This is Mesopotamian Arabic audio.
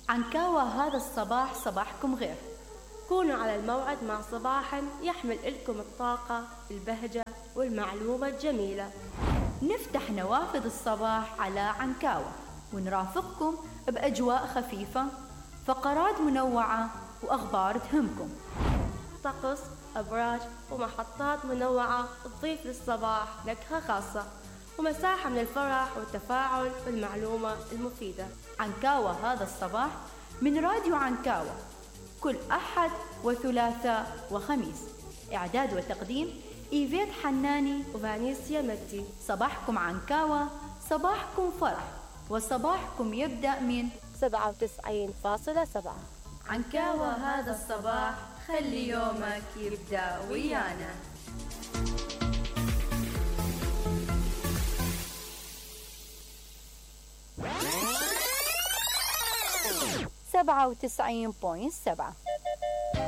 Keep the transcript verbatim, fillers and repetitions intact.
عنكاوة هذا الصباح صباحكم غير. كونوا على الموعد مع صباح يحمل لكم الطاقة، البهجة والمعلومة الجميلة. نفتح نوافذ الصباح على عنكاوة ونرافقكم بأجواء خفيفة، فقرات منوعة وأخبار تهمكم، طقس، أبراج ومحطات منوعة تضيف للصباح نكهة خاصة، ومساحة من الفرح والتفاعل والمعلومة المفيدة. عنكاوة هذا الصباح من راديو عنكاوة، كل أحد وثلاثاء وخميس. إعداد وتقديم إيفيت حناني وفانيسيا مجدي. صباحكم عنكاوة، صباحكم فرح، وصباحكم يبدأ من سبعة وتسعين فاصلة سبعة. عنكاوة هذا الصباح، خلي يومك يبدأ ويانا. سبعة وتسعين فاصلة سبعة.